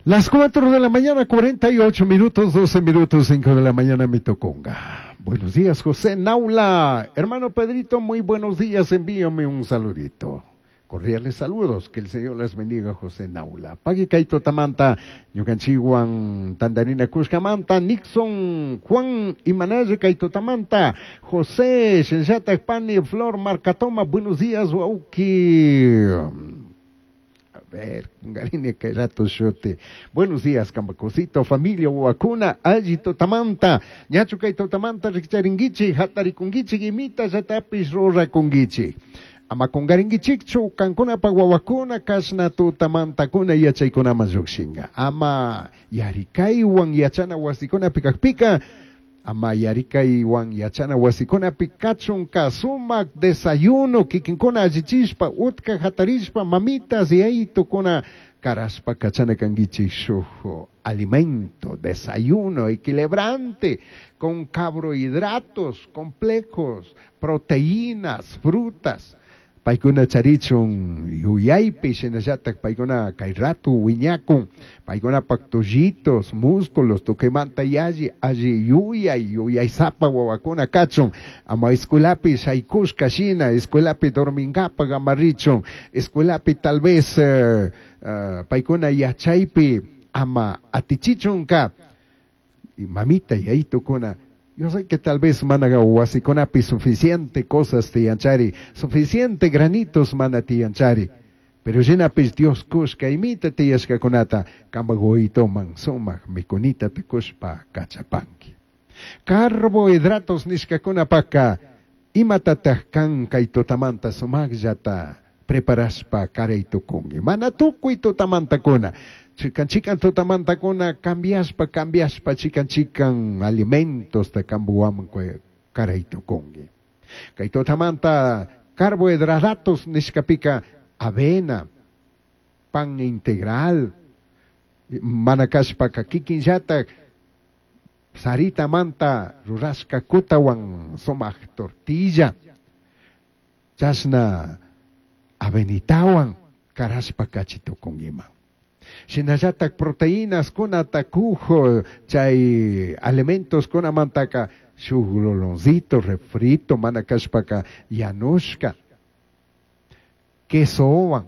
Las 4 de la mañana, 48 minutos, 12 minutos, 5 de la mañana, mi toconga. Buenos días, José Naula. Hermano Pedrito, muy buenos días. Envíame un saludito. Cordiales saludos, que el Señor les bendiga, José Naula. Pagui Kaito Tamanta, Ñukanchiwan, Tandarina Cuscamanta, Nixon, Juan Imanaya Kaito Tamanta, José, Shenshata Pani, Flor Marcatoma, buenos días, Wauki. A ver, Garine Kairato Shote. Buenos días, Cambacosito, familia Huacuna, Allito Tamanta, Ñachu Kaito Tamanta, Rikcharinguichi, Hatarikunguichi, Imita, Yatapis, Rurakunguichi. Ama kungaringuichikchu, kankunapa wawakuna, kashna tutamantakuna yachaykunaman llukshinga. Ama yarikaywan yachana wasikunapi kakpika, ama yarikaywan yachana wasikunapi kachunka sumak desayuno kikinkuna allichishpa, utka hatarishpa, mamitas yaytukuna karashpa kachana kanguichik shuk alimento, desayuno equilibrante, con carbohidratos complejos, proteínas, frutas. Paykuna charichun yuyaypi shinallatak paykuna kay ratu wiñakun paykunapak tullitos, músculos, tukuymanta yalli alli yuyay yuyaysapa wawakuna kachun ama escuelapi shaykushka shina escuelapi dorminkapak ama richun escuelapi tal vez paykuna yachaypi ama atichichunka y mamita yayitukuna. Yo sé que tal vez mana wasikunapi suficiente cosas tiyanchari, suficiente granitos mana tiyanchari, pero shinapis Dios kushka imita tiyashkakunata kampak wawitoman sumak mikunita tukushpa kachapanki. Carbohidratos nishkakunapaka imatataj kan kay tutamanta sumakllata preparashpa karay tukunki. Mana tukuy tutamantakuna. Chikan chikan tutamantakuna cambiashpa cambiashpa chikan chikan alimentos ta kambuwaman karay tukunki. Kay tutamanta carbohidratos nishkapika avena, pan integral, mana kashpaka kikinllatak sarita manta rurashka kutawan sumak tortilla, chashna avenitawan karashpa kachi tukunkiman. Shinallatak proteínas kunata kujo chay alimentos kunamantaka shuk loloncito refrito mana kashpaka yanushka, quesowan,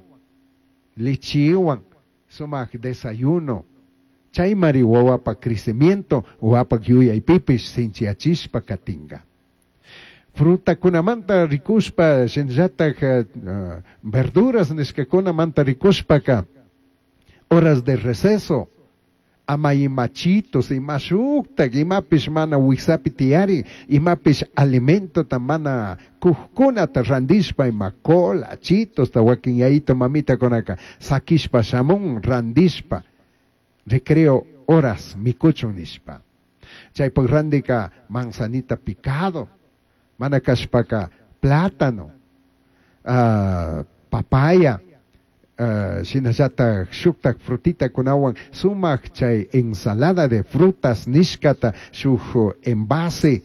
lechiwan, sumak desayuno, chaymari wawapa crecimiento, wawapa yuyaypipish sinchiyachishpa katinga. Frutakunamanta rikushpa, shinallatak verduras nishkakunamanta rikushpaka, horas de receso, ama imachitos, imashuktak, imapish mana wiksapi tiyari, imapish alimentota mana kujkunata randishpa, ima cola, chitos, ta wakin yayito mamita konaka, sakishpa shamun randishpa, recreo horas mikuchun nishpa. Chaypak randika manzanita picado, mana kashpaka plátano, papaya, shinallatak shuktak frutita kunawan sumak chay ensalada de frutas nishkata shuk envase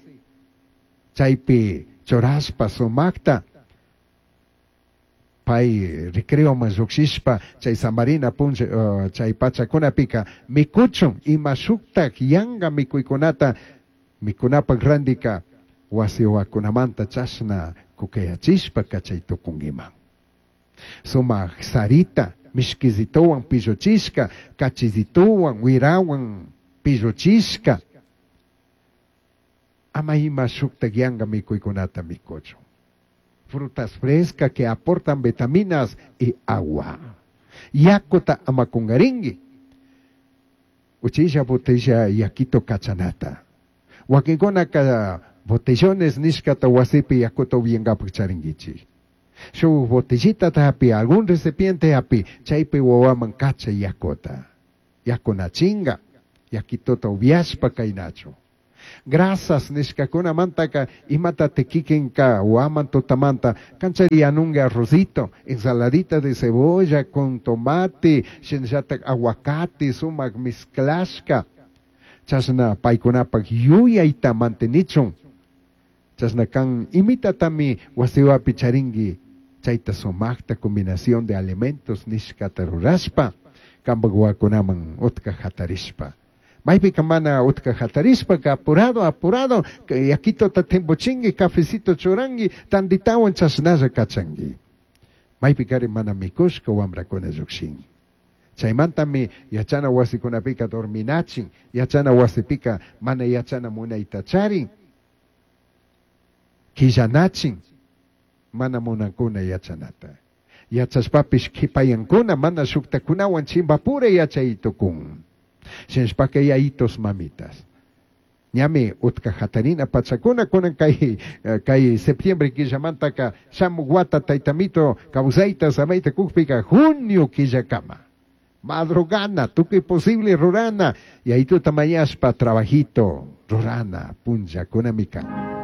chaypi churashpa sumakta pay recreoman llukshishpa chay samarina puncha chay pachakunapika mikuchun ima shuktak yanga mikuykunata mikunapak randika wasiwakunamanta chashna kukayachishpa kachay tukunkiman. Sumak sarita, mishkizitowan pilluchishka, kachizitowan, wirawan pilluchishka. Ama ima shuktak yanga mikuykunata mikuchun. Frutas frescas que aportan vitaminas y agua. Yakuta ama kungaringi. Uchilla botella yakito kachanata. Wakinkunaka botellones nishkata wasipi yakuta upiyankapak charinkichik. Shuk botellita hapi, algún recipiente hapi, chaypi wawaman kacha yakuta. Yakunachinga, yakitota upiashpa kaynachu. Grasas nishkakunamantaka imata tekikinka waman tutamanta kanchari yanunga arrocito, ensaladita de cebolla con tomate, shinallatak aguacate, sumak mezclashka. Chashna paykunapak yuyayta mantenichun. Chashna kan imitatami wasiwapi charingi chayta sumakta combinación de alimentos nishkata rurashpa. Cambaj huahuacunaman utca jatarishpa. Maipica mana utca jatarishpaca apurado apurado yaquitota timbuchingui, cafecito churangui, tanditahuan chashnalla cachangui. Maipicari mana micushca huambracuna llujshin. Chaimantami yachana huasicunapica dorminachin, yachana huasipica mana yachana munaita charin, quillanachin, mana munancuna yachanata. Yachashpapish quipayancuna mana shujtacunahuan chimbapura yachai tucun. Shinashpaca yayitos mamitas. Ñami utca jatarina pachacuna cunan cai cai septiembre quillamantaca shamuj huata taitamito causaita samaita cujpica junio quillacama. Madrugana, tucui posible rurana, yayituta mañashpa trabajito rurana punllacunami can.